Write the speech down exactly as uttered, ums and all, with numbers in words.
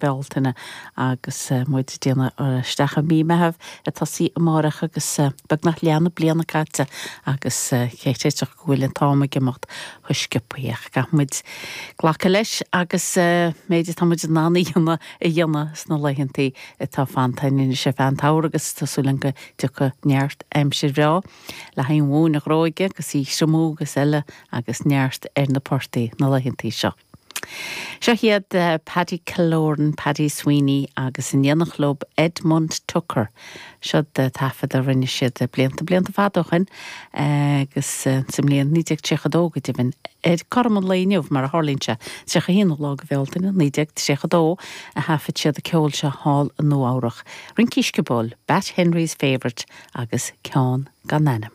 Bealtaine agus muid ag déanamh isteach i mí Mheithimh ag tosaí amárach agus beagnach leath na bliana caite agus cé go bhfuil an t-am ag imeacht chomh sciobtha ach caithfidh muid glacadh leis agus méid atá muid in ann a dhéanamh a dhéanamh sna laethanta atá fanta anois ar feadh an tsamhraidh agus tá súil go dtiocfaidh neart aimsir bhreá le haghaidh an mhóin a ghróigeadh agus í a thriomú agus eile agus neart ar na portaigh na laethanta seo. Seo iad uh, Paddy Killoran, Paddy Sweeney agus an Dhéanach Club Edmund Tucker. Seo taifead a rinne siad blianta blianta fada ó shin agus sa mbliain naoi déag tríocha dó go deimhin ar cothrom an lae inniu mar a tharlaíonn sé tríocha haon lá de Bhealtaine naoi déag tríocha dó a thaifead siad an ceol seo thall i Nua Eabhrac. Rincí Sciobóil, Bat Henry's Favourite agus ceann gan ainm.